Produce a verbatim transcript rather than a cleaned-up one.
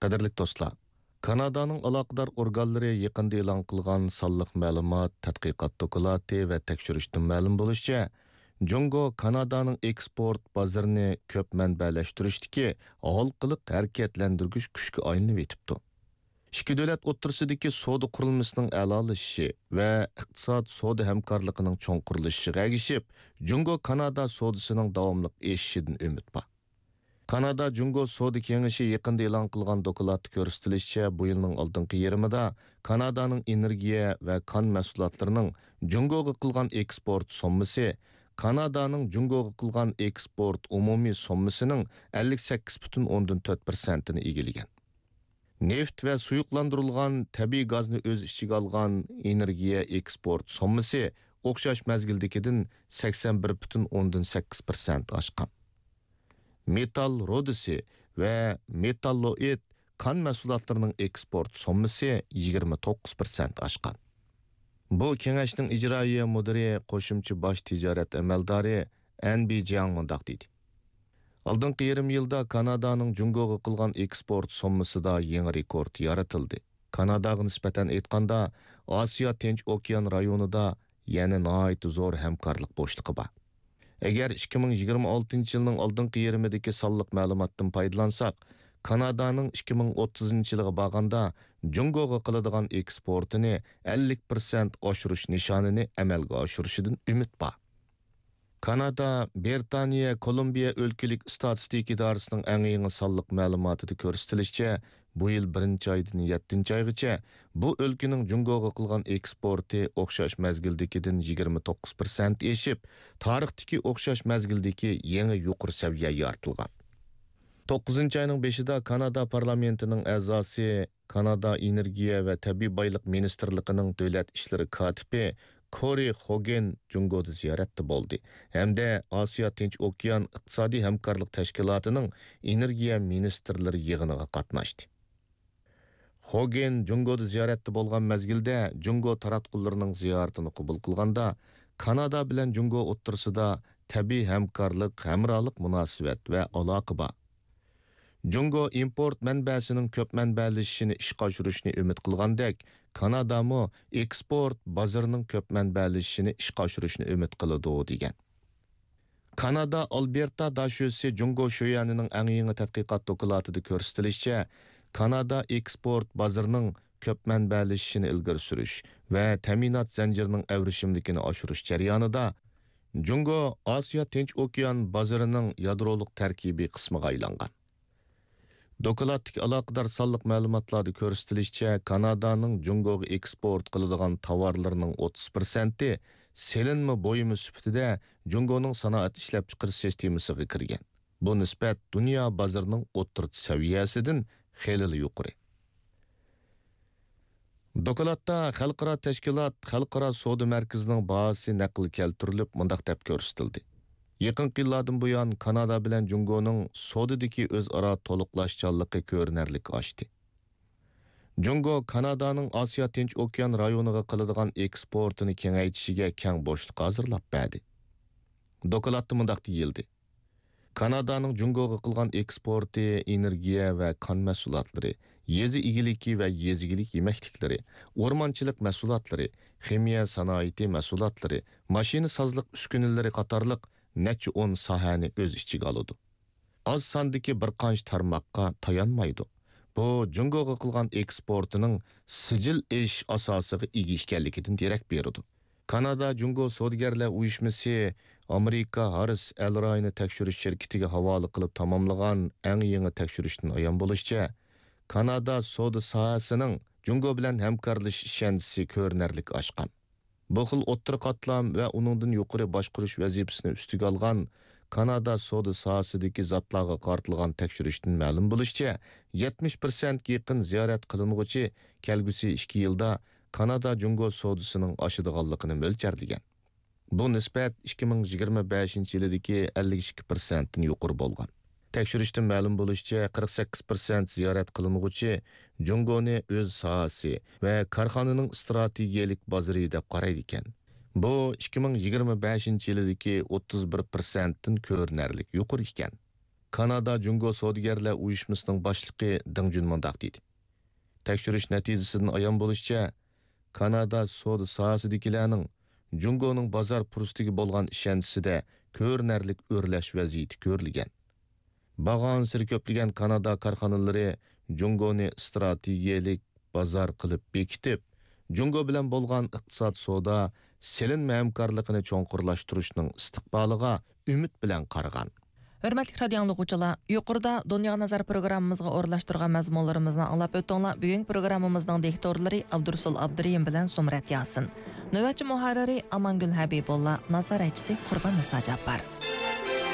قەدىرلىك دوستلار، كانادانىڭ ئالاقىدار ئورگانلىرى يېقىندا ئېلان قىلغان سانلىق مەلۇمات، تەتقىقات دوكلاتى ۋە تەكشۈرۈشتىن مەلۇم بولۇشىچە، جۇڭگو كانادانىڭ ئېكسپورت بازىرىنى كۆپ مەنبەلەشتۈرۈشتىكى ھالقىلىق ھەرىكەتلەندۈرگۈچ كۈچكە ئايلىنىۋېتىپتۇ. ئىككى دۆلەت ئوتتۇرىسىدىكى سودا قۇرۇلمىسىنىڭ ئەلالىشىشى ۋە ئىقتىساد، سودا ھەمكارلىقىنىڭ چوڭقۇرلىشىشىغا ئەگىشىپ، جۇڭگو كانادا سودىسىنىڭ داۋاملىق ئېشىشىدىن ئۈمىد بار. كانادا جۇڭگو سودا كېڭىشى يېقىندا ئېلان قىلغان دوكلاتتا كۆرسىتىلىشىچە، بۇ يىلنىڭ ئالدىنقى يېرىمىدا كانادانىڭ ئېنېرگىيە ۋە كان مەھسۇلاتلىرىنىڭ جۇڭگوغا قىلغان ئېكسپورت سوممىسى كانادانىڭ جۇڭگوغا قىلغان ئېكسپورت ئومۇمىي سوممىسىنىڭ ئەللىك سەككىز پۈتۈن ئوندىن تۆت پىرسەنتىنى ئىگىلىگەن. نېفىت ۋە سۇيۇقلاندۇرۇلغان تەبىئىي گازنى ئۆز ئىچىگە ئالغان ئېنېرگىيە ئېكسپورت سوممىسى ئوخشاش مەزگىلدىكىدىن سەكسەن بىر پۈتۈن ئوندىن سەككىز پىرسەنت ئاشقان. مېتال رۇدىسى ۋە مېتاللوئىد كان مەھسۇلاتلىرىنىڭ ئېكسپورت سوممىسى يىگىرمە توققۇز پىرسەنت ئاشقان. بۇ كېڭەشنىڭ ئىجرائىيە مۇدىرى، قوشۇمچە باش تىجارەت ئەمەلدارى ئەن بى جياڭ مۇنداق دېدى: ئالدىنقى يېرىم يىلدا كانادانىڭ جۇڭگوغا قىلغان ئېكسپورت سوممىسىدا يېڭى رېكورت يارىتىلدى. كاناداغا نىسبەتەن ئېيتقاندا، ئاسىيا تىنچ ئوكيان رايونىدا يەنە ناھايىتى زور ھەمكارلىق بوشلۇقى بار. ئەگەر ئىككى مىڭ يىگىرمە ئالتىنچى يىلنىڭ ئالدىنقى يېرىمىدىكى سانلىق مەلۇماتتىن پايدىلانساق، كانادانىڭ ئىككى مىڭ ئوتتۇزىنچى يىلىغا بارغاندا جۇڭگوغا قىلىدىغان ئېكسپورتىنى ئەللىك پىرسەنت ئاشۇرۇش نىشانىنى ئەمەلگە ئاشۇرۇشىدىن ئۈمىد بار. كانادا، بىرىتانىيە، كولومبىيە ئۆلكىلىك ئىستاتىستىكا ئىدارىسىنىڭ ئەڭ يېڭى سانلىق مەلۇماتىدا كۆرسىتىلىشىچە، بۇ يىل بىرىنچى ئايدىن يەتتىنچى ئايغىچە بۇ ئۆلكىنىڭ جۇڭگوغا قىلغان ئېكسپورتى ئوخشاش مەزگىلدىكىدىن يىگىرمە توققۇز پىرسەنت ئېشىپ، تارىختىكى ئوخشاش مەزگىلدىكى يېڭى يۇقىرى سەۋىيە يارىتىلغان. توققۇزىنچى ئاينىڭ بېشىدا كانادا پارلامېنتىنىڭ ئەزاسى، كانادا ئېنېرگىيە ۋە تەبىئىي بايلىق مىنىستىرلىقىنىڭ دۆلەت ئىشلىرى كاتىپى كورى خوگېن جۇڭگودا زىيارەتتە بولدى ھەمدە ئاسىيا تىنچ ئوكيان ئىقتىسادىي ھەمكارلىق تەشكىلاتىنىڭ ئېنېرگىيە مىنىستىرلىرى يىغىنىغا قاتناشتى. خوگېن جۇڭگودا زىيارەتتە بولغان مەزگىلدە، جۇڭگو تاراتقۇلىرىنىڭ زىيارىتىنى قوبۇل قىلغاندا، كانادا بىلەن جۇڭگو ئوتتۇرىسىدا تەبىئىي ھەمكارلىق، ھەمراھلىق مۇناسىۋەت ۋە ئالاقە بار. جۇڭگو ئىمپورت مەنبەسىنىڭ كۆپ مەنبەلىشىشىنى ئىشقا ئاشۇرۇشنى ئۈمىد قىلغاندەك، كانادامۇ ئېكسپورت بازىرىنىڭ كۆپ مەنبەلىشىشىنى ئىشقا ئاشۇرۇشنى ئۈمىد قىلىدۇ، دېگەن. كانادا ئالبېرتا داشۆسى جۇڭگو شۆيەنىنىڭ ئەڭ يېڭى تەتقىقات دوكلاتىدا كۆرسىتىلىشىچە، كانادا ئېكسپورت بازىرىنىڭ كۆپ مەنبەلىشىشىنى ئىلگىرى سۈرۈش ۋە تەمىنات زەنجىرىنىڭ ئەۋرىشىملىكىنى ئاشۇرۇش جەريانىدا، جۇڭگو ئاسىيا تىنچ ئوكيان بازىرىنىڭ يادرولۇق تەركىبىي قىسمىغا ئايلانغان. دوكلاتتىكى ئالاقىدار سانلىق مەلۇماتلاردا كۆرسىتىلىشىچە، كانادانىڭ جۇڭگوغا ئېكسپورت قىلىدىغان تاۋارلىرىنىڭ ئوتتۇز پىرسەنتى سېلىنما بۇيۇمى سۈپىتىدە جۇڭگونىڭ سانائەت ئىشلەپچىقىرىش سىستېمىسىغا كىرگەن. بۇ نىسبەت دۇنيا بازىرىنىڭ ئوتتۇرىچە سەۋىيەسىدىن خېلىلا يۇقىرى. دوكلاتتا خەلقئارا تەشكىلات خەلقئارا سودا مەركىزىنىڭ باھاسى نەقىل كەلتۈرۈلۈپ، مۇنداق دەپ كۆرسىتىلدى: يېقىنقى يىللاردىن بۇيان، كانادا بىلەن جۇڭگونىڭ سودىدىكى ئۆزئارا تولۇقلاشچانلىقى كۆرۈنەرلىك ئاشتى. جۇڭگو كانادانىڭ ئاسىيا تىنچ ئوكيان رايونىغا قىلىدىغان ئېكسپورتىنى كېڭەيتىشىگە كەڭ بوشلۇق ھازىرلاپ بەردى. دوكلاتتا مۇنداق دېيىلدى: كانادانىڭ جۇڭگوغا قىلغان ئېكسپورتى ئېنېرگىيە ۋە كان مەھسۇلاتلىرى، يېزا ئىگىلىكى ۋە يېزا ئىگىلىك يېمەكلىكلىرى، ئورمانچىلىق مەھسۇلاتلىرى، خىمىيە سانائىتى مەھسۇلاتلىرى، ماشىنىسازلىق ئۈسكۈنىلىرى قاتارلىق نەچچە ئون ساھەنى ئۆز ئىچىگە ئالىدۇ. ئاز ساندىكى بىر قانچە تارماققا تايانمايدۇ. بۇ جۇڭگوغا قىلغان ئېكسپورتىنىڭ سىجىل ئېشىش ئاساسىغا ئىگە ئىكەنلىكىدىن دېرەك بېرىدۇ. كانادا جۇڭگو سودىگەرلەر ئۇيۇشمىسى ئامېرىكا ھاررىس ئەل رايونى تەكشۈرۈش شىركىتىگە ھاۋالە قىلىپ تاماملىغان ئەڭ يېڭى تەكشۈرۈشتىن ئايان بولۇشىچە، كانادا سودا ساھەسىنىڭ جۇڭگو بىلەن ھەمكارلىشىش ئىشەنچىسى كۆرۈنەرلىك ئاشقان. بۇ خىل ئوتتۇرا قاتلام ۋە ئۇنىڭدىن يۇقىرى باشقۇرۇش ۋەزىپىسىنى ئۈستىگە ئالغان كانادا سودا ساھەسىدىكى زاتلارغا قارىتىلغان تەكشۈرۈشتىن مەلۇم بولۇشىچە، يەتمىش پىرسەنتكە يېقىن زىيارەت قىلىنغۇچى كەلگۈسى ئىككى يىلدا كانادا جۇڭگو سودىسىنىڭ ئاشىدىغانلىقىنى مۆلچەرلىگەن. بۇ نىسبەت ئىككى مىڭ يىگىرمە بەشىنچى يىلىدىكى ئەللىك ئىككى پىرسەنتتىن يۇقىرى بولغان. تەكشۈرۈشتىن مەلۇم بولۇشىچە، قىرىق سەككىز پىرسەنت زىيارەت قىلىنغۇچى جۇڭگونى ئۆز ساھەسى ۋە كارخانىنىڭ ئىستراتېگىيەلىك بازىرى دەپ قارايدىكەن. بۇ ئىككى مىڭ يىگىرمە بەشىنچى يىلىدىكى ئوتتۇز بىر پىرسەنتتىن كۆرۈنەرلىك يۇقىرى ئىكەن. كانادا جۇڭگو سودىگەرلەر ئۇيۇشمىسىنىڭ باشلىقى دېڭ جۈن مۇنداق دېدى: تەكشۈرۈش نەتىجىسىدىن ئايان بولۇشىچە، كانادا سودا ساھەسىدىكىلەرنىڭ جۇڭگونىڭ بازار پۇرسىتىگە بولغان ئىشەنچىسىدە كۆرۈنەرلىك ئۆرلەش ۋەزىيىتى كۆرۈلگەن. بارغانسېرى كۆپلىگەن كانادا كارخانىلىرى جۇڭگونى ئىستراتېگىيەلىك بازار قىلىپ بېكىتىپ، جۇڭگو بىلەن بولغان ئىقتىساد، سودا، سېلىنما ھەمكارلىقىنى چوڭقۇرلاشتۇرۇشنىڭ ئىستىقبالىغا ئۈمىد بىلەن قارىغان. ھۆرمەتلىك رادىيو ئاڭلىغۇچىلار، يۇقىرىدا دۇنياغا نەزەر پروگراممىمىزغا ئورۇنلاشتۇرغان مەزمۇنلىرىمىزنى ئاڭلاپ ئۆتتۈڭلار. بۈگۈنكى پروگراممىمىزنىڭ دىكتورلىرى ئابدۇرۇسۇل ئابدۇرېھىم بىلەن زۇمرەت ياسىن. نۆۋەتچى مۇھەررىرى ئامانگۈل ھەبىبۇللا، نازارەتچىسى قۇربان نىسا جاپپار.